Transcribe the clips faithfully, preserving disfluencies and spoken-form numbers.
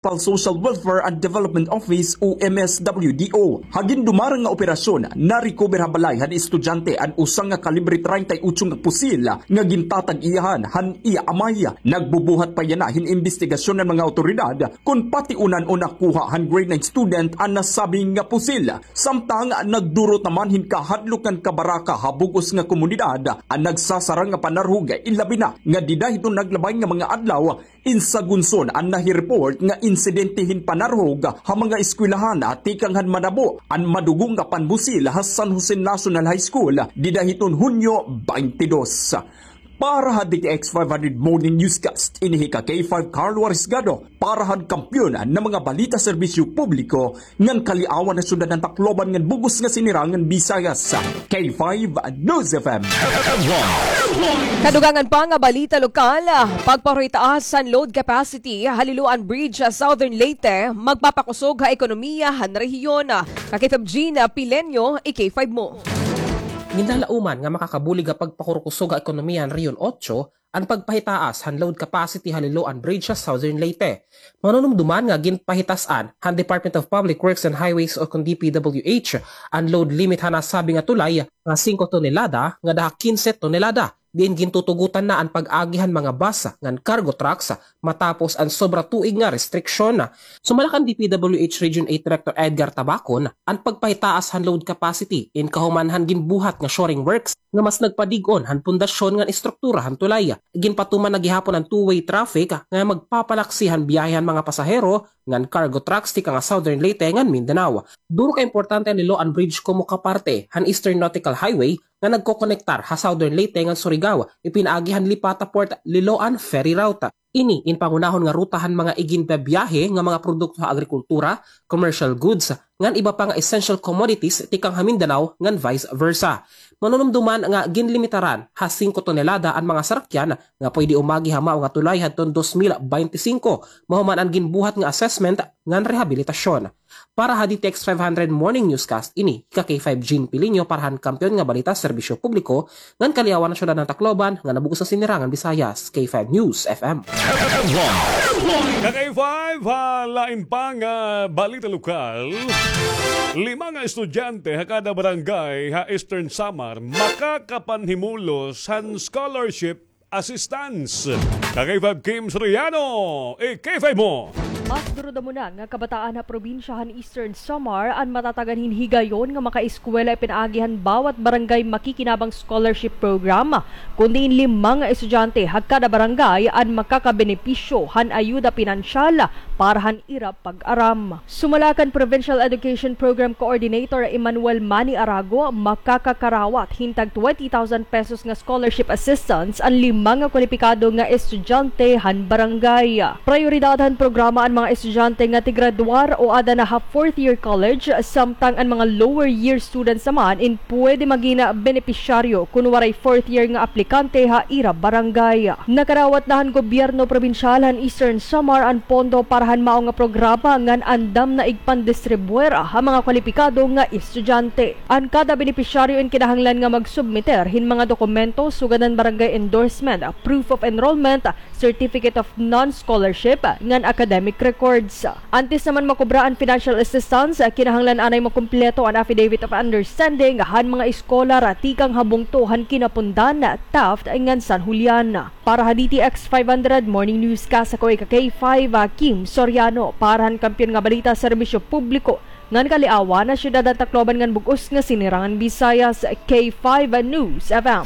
Municipal Social Welfare and Development Office o M S W D O. Ha gindumarang nga operasyon, na-recover ha balay han estudyante an usa nga kalibre treinta y ocho nga pusil nga gintatag-iyahan han iya amay. Nagbubuhat pa yana hin imbestigasyon an mga awtoridad kon pationan o nakuha han grade nine student an nasabing nga pusil. Samtang nagdurot naman hin kahadlok ngan kabaraka ha bug-os nga komunidad an nagsasarang nga panarhog, ilabi na nga dida hiton naglabay nga mga adlaw, in Sagunson an nahi-report nga insidente hin panarhog ha mga eskwelahan tikang han manabo an madugo nga panbusil ha San Jose National High School dida hiton Hunyo twenty-two. Para ha D T X five hundred Morning Newscast, ini hi ka K five Carlo Arisgado, para han Kampiyon nga mga balita serbisyo publiko, ngan kaliawan han syudad han Tacloban ngan bug-os nga sinirangan Visayas, K five News F M. Kadugangan pa nga balita lokal, pagpahitaas han load capacity ha Liloan Bridge sa Southern Leyte, magpapakusog ha ekonomiya han rehiyon. Ka K five Jean Pileño, i K five mo. Ginlalauman nga makakabulig ha pagpakurkusog ha ekonomiya han Rehiyon Otso an pagpahitaas han load capacity ha Liloan Bridge sa Southern Leyte. Manunumduman nga ginpahitas-an han Department of Public Works and Highways o kon D P W H an load limit han nasabi nga tulay nga singko tonelada ngada ha kinse tonelada, diin gintutugotan na an pag-agi han mga bus ngan cargo trucks matapos an sobra tuig nga restriksyon. Sumala kan D P W H Region eight Director Edgar Tabacon, an pagpahitaas han load capacity in kahuman han ginbuhat nga shoring works nga mas nagpadig-on han pundasyon ngan estruktura han tulay. Ginpatuman na gihapon an two-way traffic nga magpapalaksi han biyahe han mga pasahero ngan cargo trucks tikang ha Southern Leyte ngan Mindanao. Duro ka importante an Liloan Bridge komo kaparte han Eastern Nautical Highway nga nagkokonektar ha Southern Leyte ngan Surigao, ipinaagi han Lipata Port Liloan Ferry Route. Ini in pangunahon nga ruta han mga iginbibiyahe nga mga produkto ha agrikultura, commercial goods, ngan iba pa nga essential commodities tikang ha Mindanao ngan vice versa. Manunumduman nga ginlimitaran ha singko tonelada an mga sarakyan nga pwede umagi ha mao nga tulay hadton dos mil bente singko, mahuman an ginbuhat nga assessment ngan rehabilitasyon. Para ha D T X five hundred Morning Newscast, ini hi ka K five Jean Pilinyo para han Kampiyon nga Balita Serbisyo Publiko ngan kaliawan han syudad han Tacloban ngan ha bug-os nga sinirangan Visayas, K five News F M. Ka K five, ha lain pa nga balita lokal, lima nga estudyante ha kada barangay ha Eastern Samar makakapanhimulos han scholarship assistance. Ka K five Kim Soriano, i K five mo. Mas duro damo na nga kabataan ha probinsya han Eastern Samar an matatagan hin higayon nga makaeskwela ipinaagi han bawat barangay makikinabang scholarship program, kun diin lima nga estudyante ha kada barangay an makakabenepisyo han ayuda pinansyal para han ira pag-aram. Sumala kan Provincial Education Program Coordinator Emmanuel Manny Arago, makakakarawat hin tag twenty thousand pesos nga scholarship assistance an lima nga kwalipikado nga estudyante han barangay. Prayoridad han programa an mga estudyante nga tigradwar o ada na ha fourth year college, samtang an mga lower year students naman in pwede magin benepisyaryo kun waray fourth year nga aplikante ha ira barangay. Nakarawat na han gobyerno probinsyal han Eastern Samar an pondo para han mao nga programa ngan andam na igpandistribuer ha mga kwalipikado nga estudyante. An kada benepisyaryo in kinahanglan nga magsubmiter hin mga dokumento sugad han barangay endorsement, proof of enrollment, certificate of non-scholarship, ngan academic records. Antes naman makubra an financial assistance, kinahanglan anay makumpleto an affidavit of understanding han mga eskolar tikang ha bungto han Kinapundan, Taft, ngan San Julian. Para ha D T X five hundred Morning Newscast, ako ika K five, Kim Soriano, para han Kampiyon nga Balita, Serbisyo Publiko, ngan kaliawan ha syudad han Tacloban ngan bug-os nga sinirangan Visayas, K five News F M.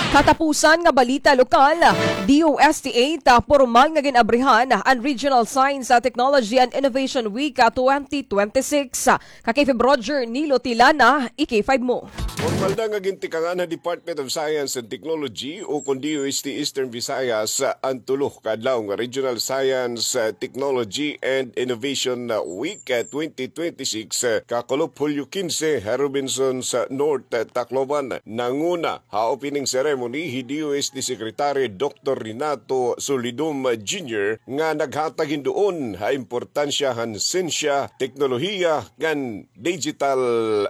Katapusan nga balita lokal, D O S T eight, pormal nga gin-abrihan an Regional Science, Technology and Innovation Week twenty twenty-six. Ka K five Roger Nilo Tilana, i K five mo. Pormal na nga gintikangan ha Department of Science and Technology o kon D O S T Eastern Visayas an tulo ka adlaw nga Regional Science, uh, Technology and Innovation, uh, Week, uh, twenty twenty-six, uh, kakulop Hulyo kinse ha Robinsons, uh, North, uh, Tacloban. Nanguna ha opening ceremony hi D O S T Secretary Doctor Renato Solidum Junior nga naghatag hin duon ha importansya han sensya, teknolohiya, ngan digital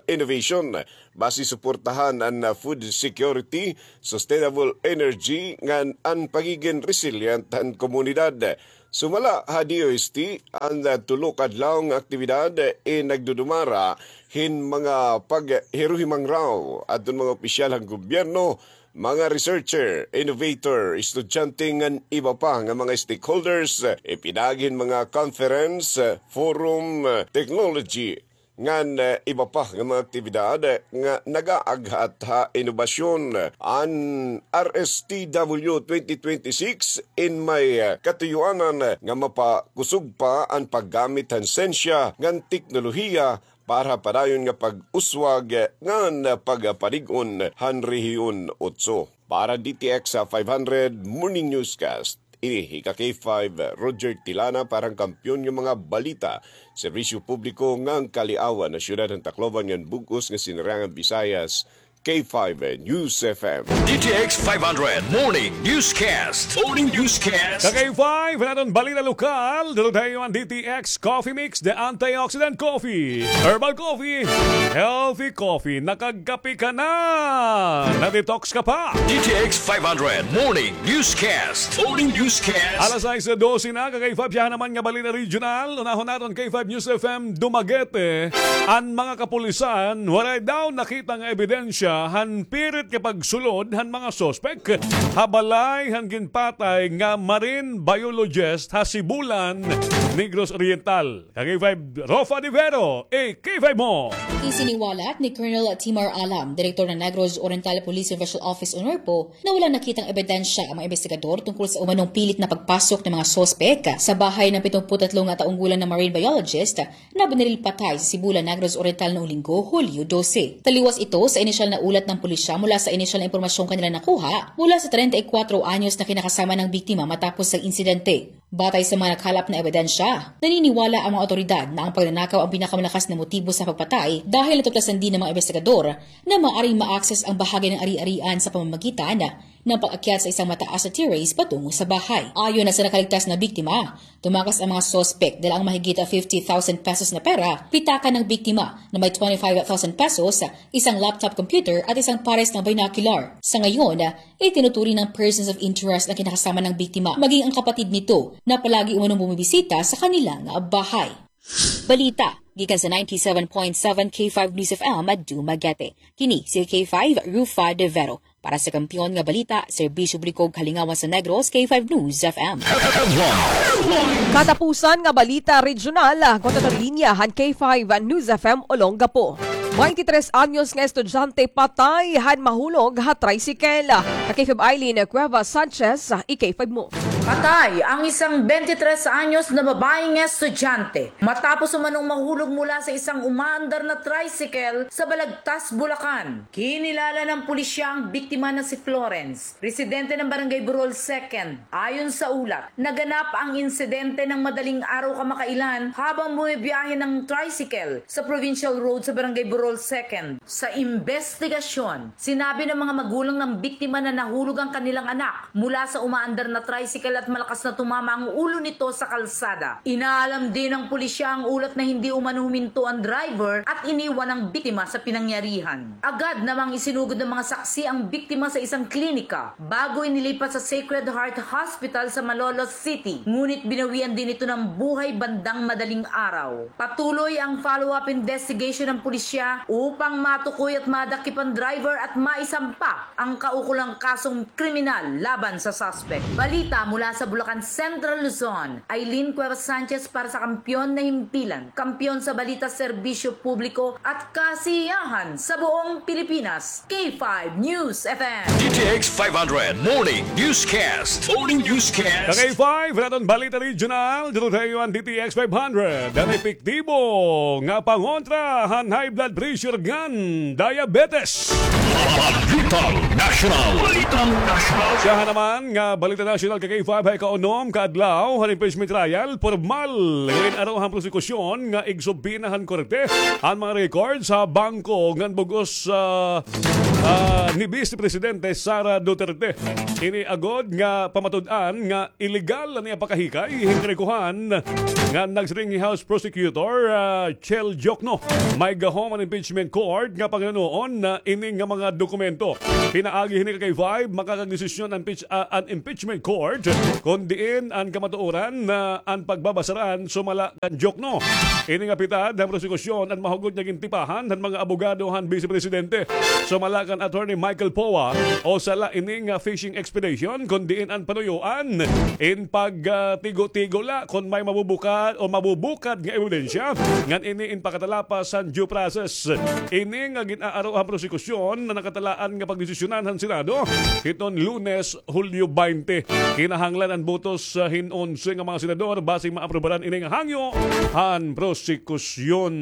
innovation. Basi suportahan an, uh, food security, sustainable energy, ngan an pagigin resilient han komunidad. Sumala ha D O S T, an, ah, tulo ka adlaw nga aktibidad, eh, nagdudumara hin mga paghiruhimangraw adton mga opisyal han gobyerno, mga researcher, innovator, estudyante ngan iba pa nga mga stakeholders, eh, ipinaagi hin mga conference, eh, forum, eh, technology, ngan, eh, iba pa nga mga aktibidad, eh, nga nagaaghat ha inobasyon. An R S T W twenty twenty-six in may, eh, katuyuanan, eh, nga mapakusog pa an paggamit han sensya ngan teknolohiya para padayon nga pag-uswag, eh, ngan pagpanig-on han Rehiyon Otso. Para D T X five hundred Morning Newscast, ini hi ka K five, Roger Tilana para han Kampiyon nga mga balita, serbisyo publiko ngan kaliawan ha siyudad han Tacloban ngan bug-os nga Sinirangan Visayas, K five News F M. D T X five hundred Morning Newscast. Morning Newscast. Ka K five, an aton balita lokal, hatod ha iyo han D T X Coffee Mix, the antioxidant coffee, herbal coffee, healthy coffee. Nakagkape ka na, na-detox ka pa. D T X five hundred Morning Newscast. Morning Newscast. Alas sais dose na, ka K five, siya naman nga balita regional. Unahon naton K five News F M Dumaguete. An mga kapulisan, waray daw nakita nga ebidensya han pirit nga pagsulod han mga suspek ha balay han ginpatay nga marine biologist ha Sibulan, Negros Oriental. Ka K five, Rofa de Vero, e K five mo. Isiniwalat ni Colonel Timar Alam, direktor ng Negros Oriental Police Special Office o NORPO, na walang nakitang ebidensya ang mga investigador tungkol sa umanong pilit na pagpasok ng mga suspek sa bahay ng pitong put tatlo nga taong gulang na marine biologist na binaril patay sa Sibulan, Negros Oriental noong Linggo, Hulyo dose. Taliwas ito sa inisyal na ulat ng pulisya mula sa inisyal na impormasyong kanilang nakuha mula sa treinta y cuatro anyos na kinakasama ng biktima matapos ang insidente. Batay sa mga nakalap na ebidensya, naniniwala ang mga awtoridad na ang pagnanakaw ang pinakamalakas na motibo sa pagpatay dahil natuklasan din ng mga investigador na maaaring ma-access ang bahagi ng ari-arian sa pamamagitan ng pag-akyat sa isang mataas na terrace patungo sa bahay. Ayon na sa nakaligtas na biktima, tumakas ang mga suspek, dala ang mahigit fifty thousand pesos na pera, pitaka ng biktima na may twenty-five thousand pesos, isang laptop computer at isang pares na binocular. Sa ngayon, itinuturing ng persons of interest ang kinakasama ng biktima, maging ang kapatid nito na palagi umanong bumibisita sa kanilang bahay. Balita gikan sa ninety-seven point seven K five News F M Dumaguete. Kini si K five Rufa de Vero. Para sa Kampiyon nga Balita, Serbisyo Publiko ug Kalingawan sa Negros, K five News F M. Katapusan nga balita regional, ah, kontra linya han K five News F M Olongapo. Baynte tres anyos nga estudyante patay han mahulog ha tricycle. Ka K five Eileen Cuevas Sanchez, ah, e K five mo. Patay ang isang bente tres anyos na babaeng estudyante matapos umanong mahulog mula sa isang umaandar na tricycle sa Balagtas, Bulacan. Kinilala ng pulisya ang biktima na si Florence, residente ng Barangay Burol Second. Ayon sa ulat, naganap ang insidente ng madaling araw kamakailan habang bumibiyahe ng tricycle sa Provincial Road sa Barangay Burol Second. Sa imbestigasyon, sinabi ng mga magulang ng biktima na nahulog ang kanilang anak mula sa umaandar na tricycle at malakas na tumama ang ulo nito sa kalsada. Inaalam din ng pulisya ang ulat na hindi umano huminto ang driver at iniwan ang biktima sa pinangyarihan. Agad namang isinugod ng mga saksi ang biktima sa isang klinika bago inilipat sa Sacred Heart Hospital sa Malolos City, ngunit binawian din ito ng buhay bandang madaling araw. Patuloy ang follow-up investigation ng pulisya upang matukoy at madakip ang driver at maisampa ang kaukulang kasong kriminal laban sa suspect. Balita mula sa Bulacan, Central Luzon, Eileen Cuevas Sanchez para sa Kampiyon na Himpilan, Kampiyon sa Balita, Serbisyo Publiko at Kasiyahan sa buong Pilipinas, K five News F M. D T X five hundred Morning Newscast. Morning Newscast. Ka K five, an aton balita regional, hatod ha iyo an D T X five hundred. An epektibo nga pangontra han high blood pressure ngan diabetes. Balitang Nasyonal. Balitang Nasyonal. Siya naman nga balita nasyonal, ka K five, ha ikaunom ka adlaw han impeachment trial, pormal nga gin-aro han prosekusyon nga igsubpina han korte an mga records ha bangko ngan bug-os, ah, ah, ni Vice Presidente Sara Duterte. Ini agod nga pamatud-an nga illegal an iya pakahikay hin trekuhan nga nagsiring hi House Prosecutor, ah, Chel Diokno. May gahom an impeachment court nga panghinuon na ini nga mga dokumento. Pinaagi hini ka K five, makakagdesisyon an, pich- ah, an impeachment court kon diin an kamatuoran na an pagbabasaran sumala kan Diokno. Ini nga pitad han prosekusyon an mahugot nga gintipahan han mga abogado han Bise Presidente sumala kan Attorney Michael Poa, o sala ini nga fishing expedition kon diin an panuyoan in pagtigo-tigo la kon may mabubukad o mabubukad nga ebidensya ngan ini in pakatalapas han due process. Ini nga gin-aaro han prosekusyon na nakatalaan nga pagdesisyonan han Senado hiton Lunes, Hulyo baynte. Kinahanglan an botos, ah, hin onse nga mga senador basi maaprubaran ini nga hangyo han prosekusyon.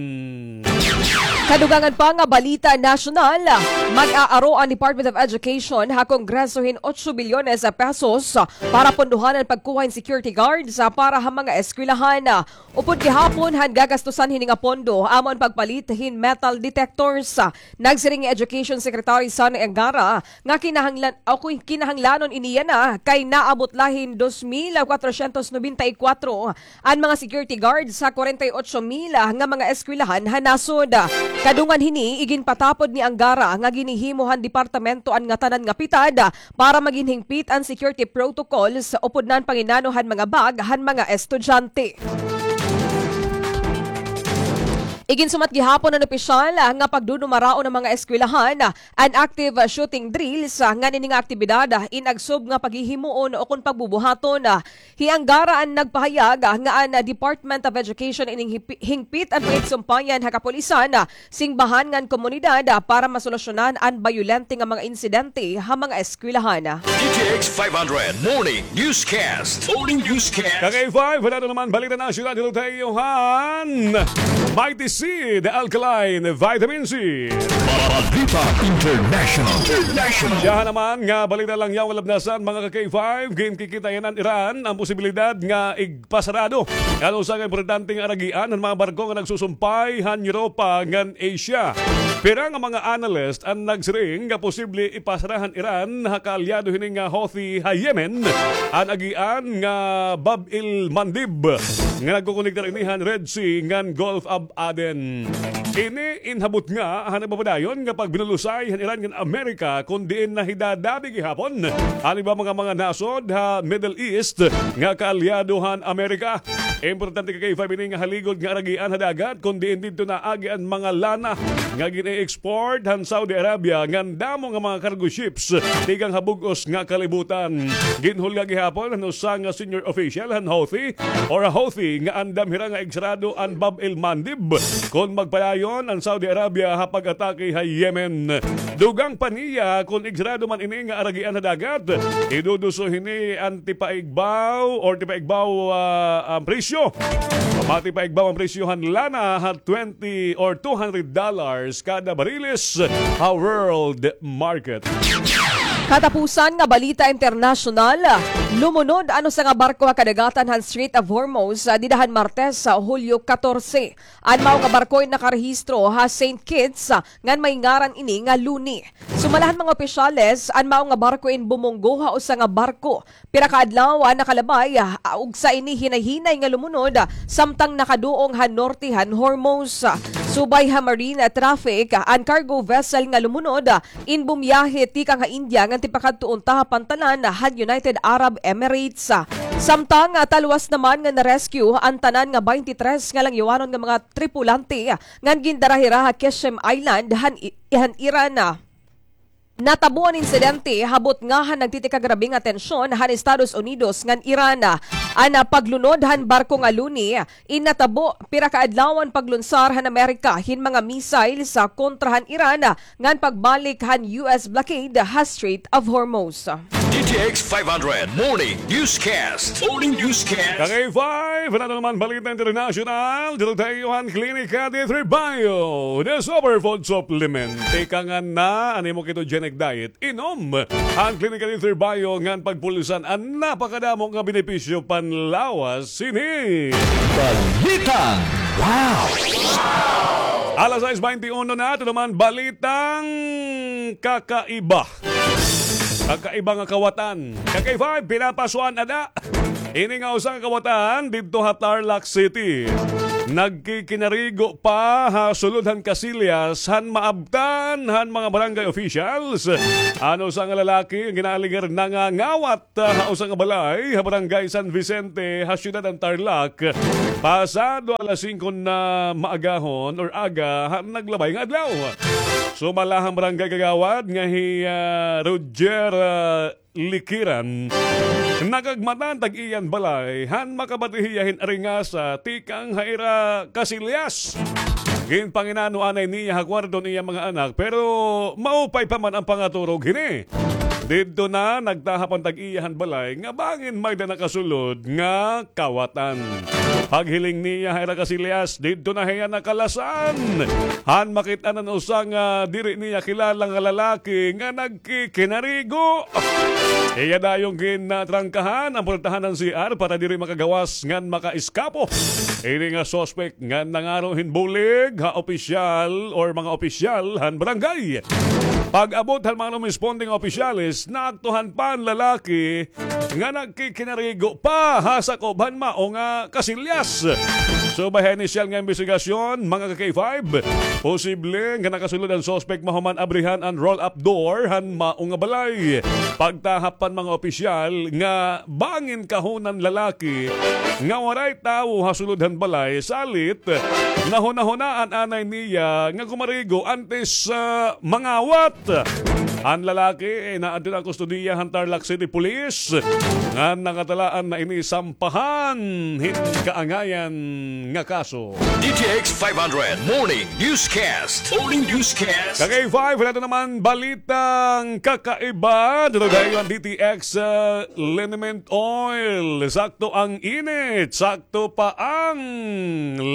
Kadugangan pa nga balita nasyonal, mag-aaro an Department of Education ha Kongreso hin otso bilyones pesos para pondohan an pagkuha hin security guards para ha mga eskwelahan. Upod gihapon han gagastusan hini nga pondo, amo an pagpalit hin metal detectors. Nagsiring hi Education Secretary Sonny Angara nga kinahanglan, o kun kinahanglanon ini yana kay naabot la hin dos mil cuatrocientos noventa y cuatro an mga security guards ha kwarenta y otso mil nga mga eskwelahan ha nasod. Kadungan hini, iginpatapod ni Angara nga ginhihimo han departamento an ngatanan nga pitad para magin hingpit an security protocols upod nan panginano han mga bag han mga estudyante. Iginsumat gihapon han opisyal nga pagdudumaraon han mga eskwelahan an active shooting drills ngan ini nga aktibidad in agsob nga paghihimuon o kon pagbubuhaton. Hi Angara an nagpahayag nga an Department of Education in hingpi- hingpit an pakigsumpayan ha kapulisan, simbahan ngan komunidad para masolusyonan an bayolente nga mga insidente ha mga eskwelahan. D T X five hundred Morning Newscast. Morning Newscast. Ka-K five, wala na naman balita nasyonal dito tayo han Mighty C, the alkaline vitamin C. Balita International. International. Siya naman nga balita lang yaw, walab nasan, mga ka-K five, ginkikita yana han Iran an posibilidad nga igpasarado an usa ka importante nga aragian han mga barko nga nagsusumpay han Europa ngan Asia. Pira nga mga analyst an nagsiring nga posible ipasara han Iran ha kaalyado hini nga Houthi ha Yemen an agian nga Bab el Mandeb nga nagkokonektar ini han Red Sea ngan Gulf of Aden. Ini in habot nga han nagpapadayon nga pagbinulusay han Iran ngan Amerika, kon diin nahidadabi gihapon an iba mga, mga nasod ha Middle East nga kaalyado han Amerika. Importante ka-K five ini nga haligod nga aragian ha dagat, kon diin didto naagi an mga lana nga gin-e-export han Saudi Arabia ngan damo nga mga cargo ships tikang ha bug-os nga kalibutan. Ginhulga gihapon han usa nga senior official han Houthi or Houthi nga andam hira nga igsarado an Bab el Mandeb kon magpadayon an Saudi Arabia ha pag-atake ha Yemen. Dugang pa niya kon igsarado man ini nga aragian ha dagat, iduduso hini an tipaigbaw or tipaigbaw, ah, an presyo. Matipaigbaw an presyo han lana ha twenty or two hundred dollars kada bariles ha world market. Katapusan nga balita internasyonal, lumunod an usa nga barko ha kadagatan han Strait of Hormuz, ah, dida han Martes, ah, Hulyo katorse. An mao nga barko in nakarehistro ha Saint Kitts, ah, ngan may ngaran ini nga Luni. Sumala han mga opisyales, an mao nga barko in bumunggo ha usa nga barko pira ka adlaw an nakalabay, ah, ug sa ini hinay-hinay nga lumunod, ah, samtang nakaduong han norte han Hormuz. Subay ha marine traffic, ah, an cargo vessel nga lumunod, ah, in bumiyahe tikang ha India ngan tipakadto unta ha pantalan han United Arab Emirates. Samtang, ah, talwas naman nga na-rescue an tanan nga baynte tres nga langyawanon nga mga tripulante, ah, ngan gindara hira ha Qeshm Island han I-, han Iran. Natabo an insidente ha butnga han nagtitikagrabe nga tensyon han Estados Unidos ngan Iran. An paglunod han barko nga Luni in natabo pira ka adlaw an paglunsar han Amerika hin mga missiles kontra han Iran ngan pagbalik han U S blockade ha Strait of Hormuz. D T X five hundred Morning Newscast. Morning Newscast. Ka-K five, ano naman balita international? Dito tayo han Klinika D three Bio, the superfood supplement. Tikangan na an imo ketogenic diet. Inom an Klinika D three Bio ngan pagpulisan an napakadamo nga benepisyo panlawas hini. Balitang wow! Alas sais baynte uno na, ito naman balitang kakaiba. Kakaiba nga kawatan. Ka-K five, pinapasuan ada. Ini nga usa ka kawatan didto ha Tarlac City. Nagkikinarigo pa ha sulod han kasilyas han maabtan han mga barangay officials. An usa nga lalaki nga ginaaligar nangangawat ha usa nga balay ha barangay San Vicente ha siyudad han Tarlac. Pasado alas singko na maagahon or aga han naglabay nga adlaw. Sumala han barangay kagawad nga hi, ah, Roger, ah, Likiran. Nakagmatan tag iyan balay, han makabati hiya hin aringasa tikang ha ira kasilyas. Ginpanginano anay niya ha kwarto niya mga anak, pero maupay pa man an pangaturog hini. Didto na nagtahap an tag-iya han balay nga bangin may-da nakasulod nga kawatan. Paghiling niya ha ira kasilyas, didto na hiya nakalasan. Han makit-an an usa nga diri niya kilala nga lalaki nga nagkikinarigo. Iya dayon ginatrangkahan an pultahan han C R para diri makagawas ngan makaeskapo. Ini nga suspek nga nangaro hin bulig ha opisyal or mga opisyal han barangay. Pag-abot han mga lumisponding opisyales, naaktuhan pa an lalaki nga nagkikinarigo pa ha sakob han mao nga kasilyas. Subay ha inisyal nga imbestigasyon, mga ka-K five, posible nga nakasulod an suspek mahuman abrihan an roll-up door han mao nga balay. Pagtahap pa han mga opisyal nga bangin kahunan lalaki nga waray tawo ha sulod han balay, salit nahunahunaan anay niya nga gumarigo antes, ah, mangawat. An lalaki, eh, naadto na kustodiya han Tarlac City Police nga nakatalaan na ini sampahan hin kaangayan nga kaso. D T X five hundred Morning Newscast. Morning Newscast. Ka-K five, ito naman balitang kakaiba. Dito tayo ang D T X, ah, liniment oil. Sakto ang init, sakto pa ang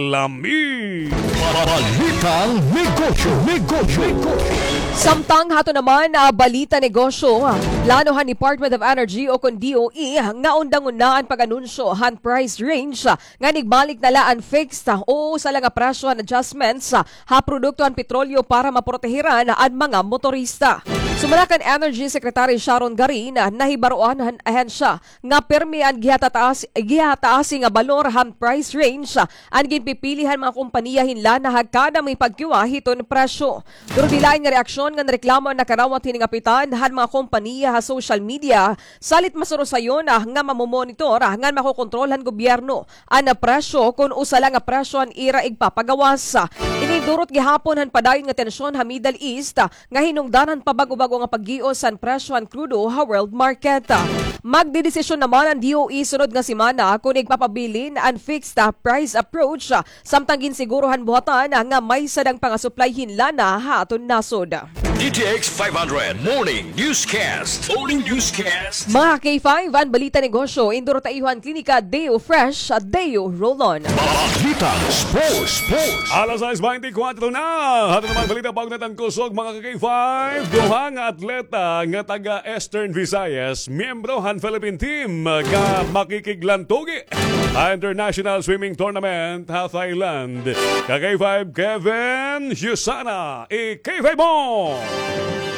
lami. Balitang negosyo, negosyo, negosyo. Samtang hato naman, ah, balita negosyo, ah, plano han Department of Energy o kon D O E nga undangon na an pag-anunsyo han price range, ah, nga igbalik na la an fixed, ah, o usa la nga presyo han adjustments, ah, ha produkto han petrolyo para maprotehiran an mga motorista. Sumala kan Energy Secretary Sharon Garin, ah, nahibaroan han ahensya nga pirmi an gihataas, gihataasi nga balor han price range, ah, an ginpipili han mga kompanya hin lana ha kada may pagkiwa hiton presyo. Durdilain nga reaksyon nga nareklamo an nakarawat hini nga kapitan han mga kompanya ha social media, salit masurosayon, ah, nga mamomonitor, ah, ngan makokontrol han gobyerno an presyo kon usa la nga presyo an ira igpapagawas. Ini durot gihapon han padayon nga tensyon ha Middle East, ah, nga hinungdan han pabag-obag-o nga paggios han presyo han krudo ha world market. Magdedesisyon naman an D O E sunod nga semana kon igpapabilin an fixed, ah, price approach, ah, samtang ginsiguro han buhatan, ah, nga may sadang pangasuplay hin lana ha aton nasod. D T X five hundred Morning Newscast. Morning Newscast. Mga K five, an balita negosyo, induro ta iyo han Klinika Deo Fresh, Deo Roll-On. Balitang sports, sports. Alas sais beintikwatro na. Ato naman balita pag natangkusog, mga K five. Duha nga atleta nga taga Eastern Visayas, miyembro han Philippine team nga makikiglantugi ha International Swimming Tournament ha Thailand. Ka K five Kevin Yusana, i K five mo!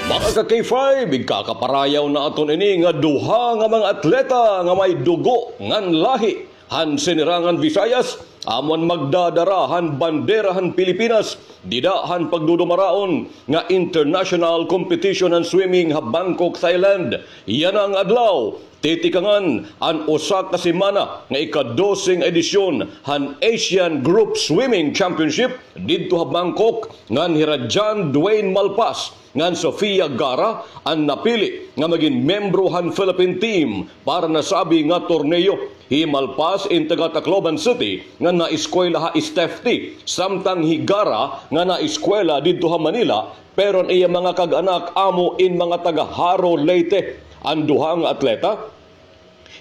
Mga ka K five, igkakaparayaw naton ini nga duha nga mga atleta nga may dugo ngan lahi han Sinirangan Visayas, amo an magdadara han bandera han Pilipinas dida han pagdudumaraon nga international competition han swimming ha Bangkok, Thailand. Yana nga adlaw, titikangan an usa ka semana nga ika-dose nga edisyon han Asian Group Swimming Championship didto ha Bangkok, ngan hira John Dwayne Malpas ngan Sofia Gara an napili nga magin miyembro han Philippine team para nasabi nga torneo. Hi Malpas in taga Tacloban City nga naeskwela ha Stefte, samtang hi Gara nga naeskwela didto ha Manila, pero an iya mga kag-anak amo in mga taga Jaro, Leyte. An duha nga atleta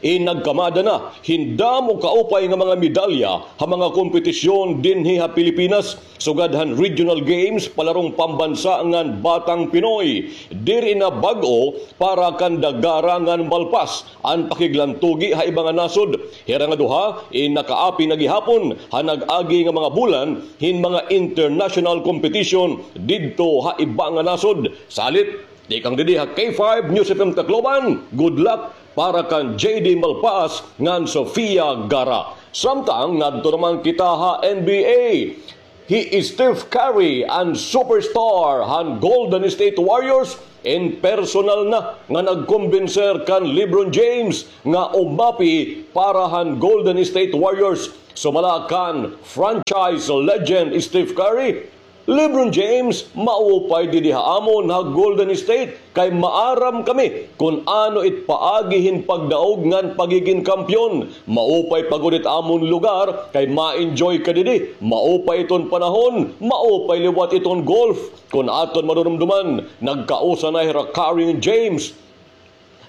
in nagkamada na hin damo kaupay nga mga medalya ha mga kompetisyon dinhi ha Pilipinas, sugad han Regional Games, Palarong Pambansa ngan Batang Pinoy. Diri na bag-o para kanda Gara ngan Malpas an pakiglantugi ha iba nga nasod. Hira nga duha in nakaapi na gihapon ha nag-agi nga mga bulan hin mga international competition didto ha iba nga nasod. Salit, Tikang didi ha K five News F M Tacloban, good luck para kan J D Malpas ngan Sofia Gara. Samtang ngadto naman kita ha N B A. Hi Steph Curry, an superstar han Golden State Warriors, in personal na nga nagkumbinser kan LeBron James nga umapi para han Golden State Warriors. Sumala kan franchise legend Steph Curry, LeBron James, maupay didi ha amon ha Golden State kay maaram kami kon ano it paagi hin pagdaog ngan pagigin kampeon. Maupay pa gud it amon lugar kay ma-enjoy ka didi. Maupay iton panahon, maupay liwat iton golf. Kon aton madurumduman, nagkausa na hira Curry ngan James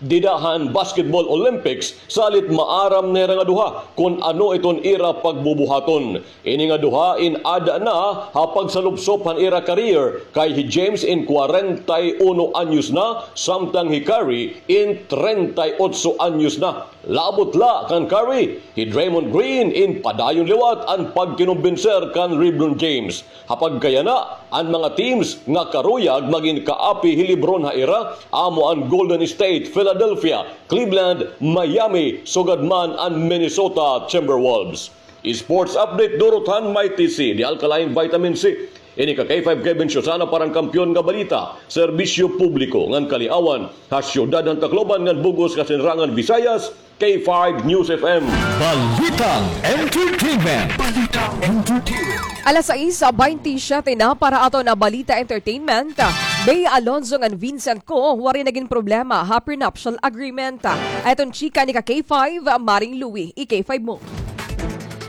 dida han Basketball Olympics, salit maaram na hira nga duha kon ano iton ira pagbubuhaton. Ini nga duha in aada na ha pagsalupsop han ira career, kay hi James in kwarenta y uno anyos na, samtang hi Curry in trenta y otso anyos na. Labot la kan Curry, hi Draymond Green in padayon liwat an pagkinumbinser kan LeBron James. Ha pagkayana, an mga teams nga karuyag magin kaapi hi LeBron ha ira, amo an Golden State, Philadelphia, Cleveland, Miami, sugad man an Minnesota Timberwolves. Sports update durot han Mighty C, The Alkaline Vitamin C. Ini ka K five Kevin Susana para han Kampiyon nga Balita, Serbisyo Publiko ngan Kaliawan, ha siyudad han Tacloban ngan bug-os nga Sinirangan Visayas, K five News F M. Balitang Entertainment. Balitang Entertainment. Alas sais baynte siyete na para aton nga Balita Entertainment. Bea Alonzo ngan Vincent Co waray nagin problema ha prenuptial agreement. Aton chika ni ka K five, Maring Louie, i K five mo.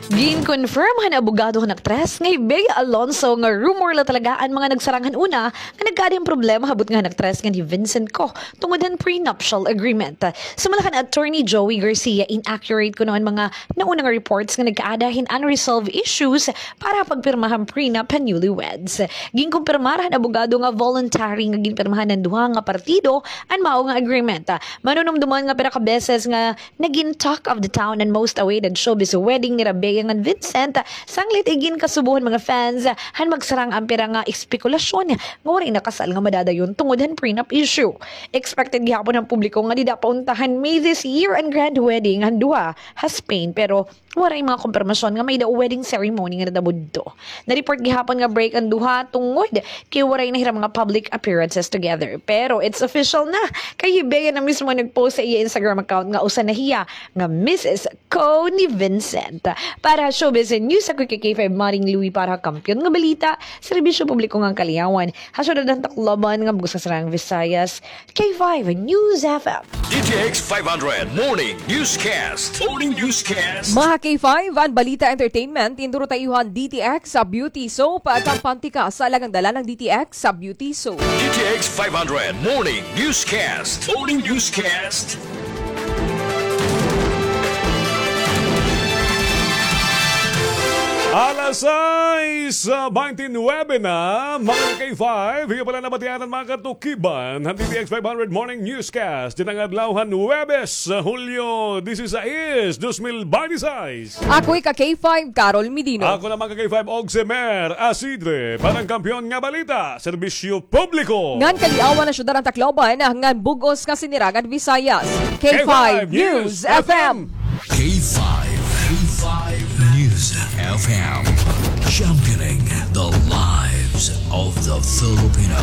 Gin-confirm han abogado han aktres nga hi Bea Alonzo nga rumor la talaga an mga nagsarang han una nga nagkaada hin problema ha butnga han aktres ngan hi Vincent Co tungod han prenuptial agreement. Sumala kan Attorney Joey Garcia, inaccurate kuno an mga nauna nga reports nga nagkaada hin unresolved issues para ha pagpirma han prenup han newlyweds. Ginkumpirmar han abogado nga voluntary nga ginpirmahan han duha nga partido an mao nga agreement. Manunumduman nga pira ka beses nga nagin talk of the town an most awaited showbiz wedding nira Bea ngan Vincent, sanglit iginkasubo han mga fans han magsarang an pira nga espekulasyon nga waray nakasal nga madadayon tungod han prenup issue. Expected gihapon han publiko nga dida pa unta han May this year an grand wedding han duha ha Spain, pero waray mga kumpirmasyon nga may-ada wedding ceremony nga nadabudto. Na-report gihapon nga break an duha tungod kay waray na hira mga public appearances together. Pero it's official na, kay hi Bea na mismo nag-post sa iya Instagram account nga usa na hiya nga Missus Co ni Vincent. Para ha Showbiz News, ako hi K five Maring Louie para ha Kampiyon nga Balita, Serbisyo Publiko ngan Kaliawan, ha siyudad han Tacloban ngan bug-os nga Sinirangan Visayas, K five News F M. D T X five hundred Morning Newscast. Morning Newscast. Mga K five, an balita entertainment, induro ta iyo han D T X sa Beauty Soap, kampante ka sa alang an dalan han D T X sa Beauty Soap. D T X five hundred Morning Newscast. Morning Newscast. Alas sais, ah, baynte nuwebe na, mga K five. Hiyo pala nabatian an mga katukiban han D T X five hundred Morning Newscast dinhi nga adlaw han Huwebes, ah, Hulyo disisais, dos mil baynte sais. Ako hi ka K five, Carol Medino. Ako naman ka K five, Oximer Asidre, para han Kampiyon nga Balita, Serbisyo Publiko ngan Kaliawan, ha siyudad han Tacloban ngan bug-os nga Sinirangan Visayas, K five News F M. K five, K five News F M, championing the lives of the Filipino.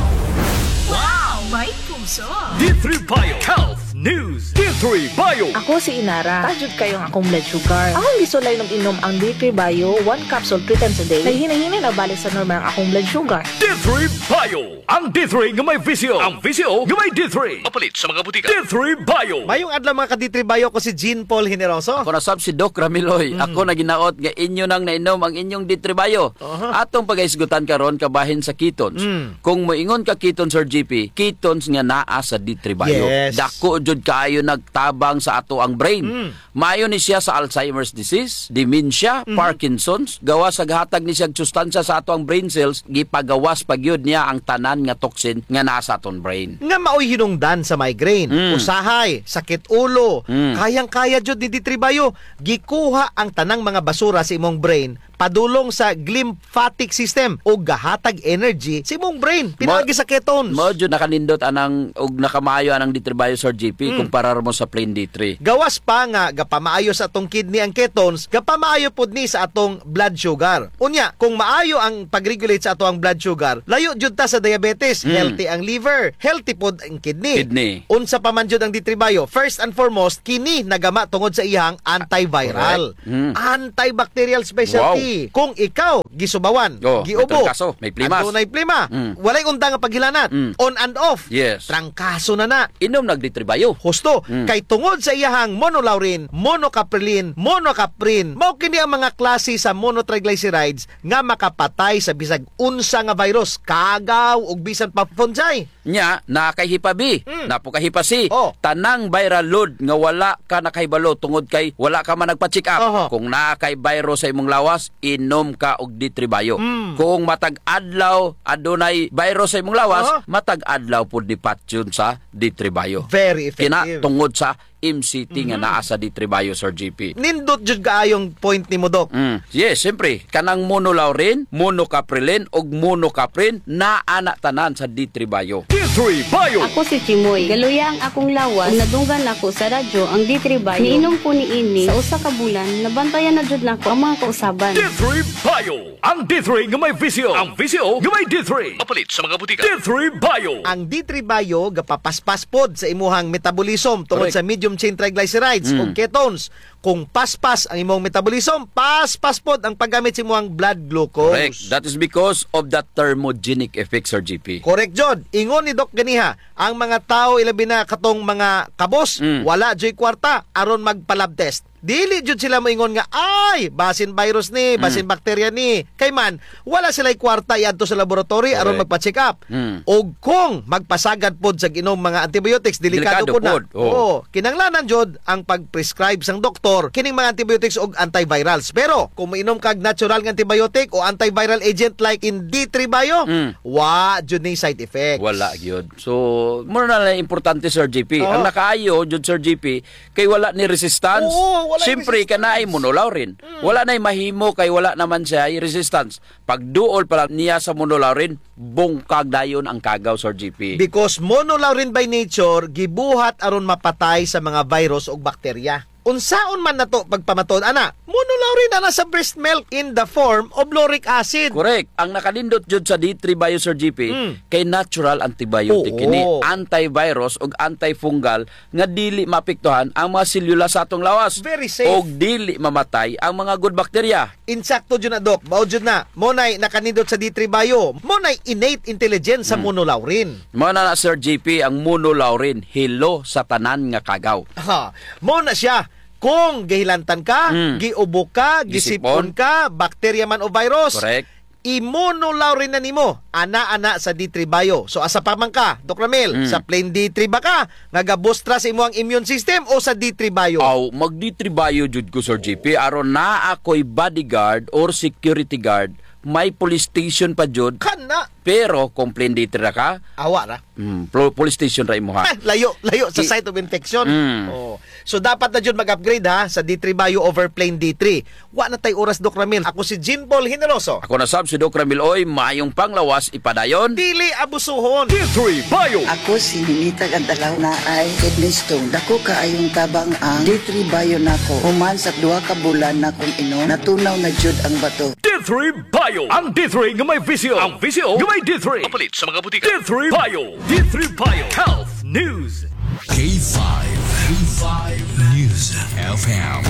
Wow! May puso! D three Bio Health News, D three Bio. Ako si Inara. Taas jud kaayo ang akong blood sugar. Akong gisulay inom-inom ang D three Bio, one capsule three times a day. Naghinay-hinay na balik sa normal ang akong blood sugar. D three Bio. Ang D three nga may V C O. Ang V C O nga may D three. Mapalit sa mga butika. D three Bio. Mayong adlaw, mga ka-D three Bio. Ako si Jean Paul Generoso. Ako na sab si Doc Ramiloy. Mm. Ako naghinaot nga inyo nang nainom ang inyong D three Bio. Aha. Atong pagahisgutan karon kabahin sa ketones. Mm. Kung moingon ka ketones, Sir G P, ketones nga naa sa D three Bio. Yes. Dako jud kaayo nagtabang sa ato ang brain. Mm. Maayo ni siya sa Alzheimer's disease, dementia, mhm, Parkinson's, gawas sa gahatag ni siya sustansya sa ato ang brain cells, gipagawas pa gyud niya ang tanan nga toxin nga naa sa aton brain. Nga maoy hinungdan sa migraine, mm, usahay, sakit ulo, mm, kayang-kaya jud ni D three Bio, gikuha ang tanang mga basura sa imong brain padulong sa glymphatic system ug gahatag energy sa imong brain. Pinaagi sa ketones. Mao jud nakanindot anang ug nakamaayo anang D three Bio, Sir G P, kumpara mo sa plain D three. Gawas pa nga gapamaayo sa atong kidney ang ketones, gapamaayo pod ni sa atong blood sugar. Unya, kung maayo ang pag-regulate sa ato ang blood sugar, layo jud ta sa diabetes, healthy ang liver, healthy pod ang kidney. Kidney. Unsa pa man jud ang D three Bio? First and foremost, kini nagama tungod sa iyang antiviral. Correct. Mm. Antibacterial specialty. Wow. Kung ikaw, gisubawan, giubo, may trangkaso, may plimas, adunay plima, walay undang nga paghilanat, on and off, yes, trangkaso na na. Inom nag D three Bio. Husto. Mm. Kay tungod sa iyahang monolaurin, monocaprilin, monocaprin, mao kini ang mga klase sa monotriglycerides nga makapatay sa bisag unsa nga virus, kagaw, ug bisan pa fungi. Nya, naa kay hepa B, naa pod kay hepa C. Oh. Tanang viral load nga wala ka nakahibalo tungod kay wala ka man nagpa-check up. Oho. Kung naa kay virus sa imong lawas, inom ka og D three Bio. Mm. Kung matag adlaw adunay virus sa imong lawas, matag adlaw pod ni patyon sa D three Bio. Very effective. Kina tungod sa M C T nga naa sa D three Bio, Sir G P. Nindot jud kaayong point nimo, Doc. Mm. Yes, siyempre, kanang monolaurin, monocaprilin, ug monocaprin, naa na tanan sa D three Bio. D three Bio. Ako si Chimoy. Galuya ang akong lawas, ug nadunggan nako sa radyo ang D three Bio. Niinom ko niini sa usa ka bulan, nabantayan na jud nako ang mga kausaban. D three Bio. Ang D three nga may V C O. Ang V C O nga may D three. Mapalit sa mga butika. D three Bio. Ang D three Bio gapapaspas pod sa imuhang metabolism tungod sa medium chain triglycerides o ketones. Kung paspas ang imong metabolism, paspas pod ang paggamit sa imuhang blood glucose. Correct. That is because of the thermogenic effect, Sir G P. Correct jud. Ingon ni Doc ganiha, ang mga tawo, ilabi na katong mga kabos, wala juy kwarta aron magpa-lab test. Dili jud sila moingon nga, "Ay, basin virus ni, basin bakterya ni." Kay man, wala sila'y kwarta iadto sa laboratory aron magpa-check up. Mm. Og kung magpasagad pod sa ginom mga antibiotics, delikado pod na. Oo, kinahanglanan jud ang pag-prescribe sang doktor kining mga antibiotics og antivirals. Pero kung moinom kag natural nga antibiotic o antiviral agent like in D three Bio, wa jud ni side effects. Wala gyud. So, mura na lang importante, Sir G P. Ang nakaayo jud, Sir G P, kay wala ni resistance. Oo, wala ni resistance. Siyempre, kay naay monolaurin. Mm. Wala nay mahimo kay wala naman siya resistance. Pagduol pa lang niya sa monolaurin, bungkag dayon ang kagaw, Sir G P. Because monolaurin by nature, gibuhat aron mapatay sa mga virus ug bakterya. Unsaon man nato pagpamatud ana? Monolaurin ana sa breast milk in the form of lauric acid. Correct. Ang nakanindot jud sa D three Bio, Sir G P, kay natural antibiotic kini, antivirus ug antifungal nga dili maapektuhan ang mga selula sa atong lawas. Very safe. Og dili mamatay ang mga good bacteria. Insakto jud na, Doc. Mao jud na. Mao nay nakanindot sa D three Bio. Mao nay innate intelligence sa monolaurin. Mao na na, Sir G P, ang monolaurin, hilo sa tanan nga kagaw. Ha, mao na siya. Kung gihilantan ka, giubo ka, gisipon ka, bakterya man o virus, correct, i-monolaurin na nimo. Ana, ana sa D three Bio. So, asa pa man ka, Doc Ramil? Sa plain D three ba ka nga gabustra sa imo ang immune system o sa D three Bio? Aw, mag D three Bio jud ko, Sir G P. Aron naa ako'y bodyguard or security guard, may police station pa jud. Kana. Pero kung plain D three ra ka, awa ra. Mm, plo-, police station ra imo, ha? Layo, layo sa site of infection. Mm. Oh. So, dapat na jud mag-upgrade, ha, sa D three Bio over plain D three. Wa na tay oras, Doc Ramil. Ako si Jean Paul Generoso. Ako na sab si Doc Ramil Oy. Maayong panglawas, ipadayon. Dili abusuhon. D three Bio. Ako si Ninita Gantalaw, naay kidney stone. Dako kaayong tabang ang D three Bio nako. Human sa duha ka bulan nakong inom, natunaw na jud ang bato. D three Bio. Ang D three nga may V C O. Ang V C O nga may D three. Mapalit sa mga butika. D three Bio. D three Bio Health News. K five. K five News F M.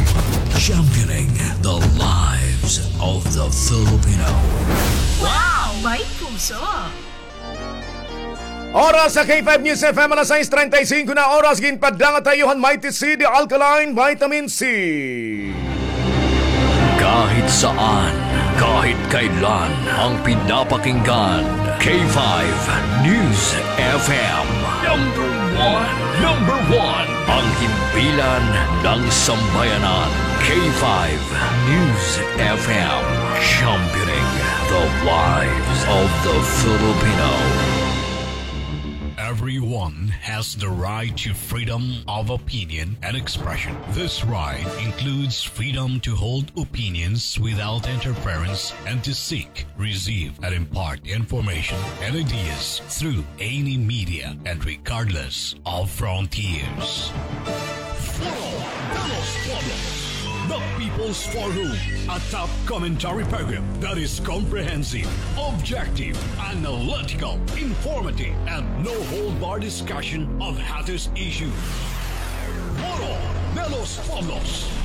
Championing the lives of the Filipino. Wow! May puso! Oras sa K five News F M, alas sais treinta y cinco na oras, ginpadala ha iyo han Mighty C, the alkaline vitamin C. Kahit saan, kahit kailan, ang pinapakinggan, K five News F M. Number one, number one, ang himpilan ng sambayanan, K five News F M, championing the lives of the Filipino. Everyone has the right to freedom of opinion and expression. This right includes freedom to hold opinions without interference and to seek, receive, and impart information and ideas through any media and regardless of frontiers. Foro de los Pueblos, the People's Forum, a top commentary program that is comprehensive, objective, analytical, informative, and no-hold-bar discussion of hottest issues. Foro de los Pueblos.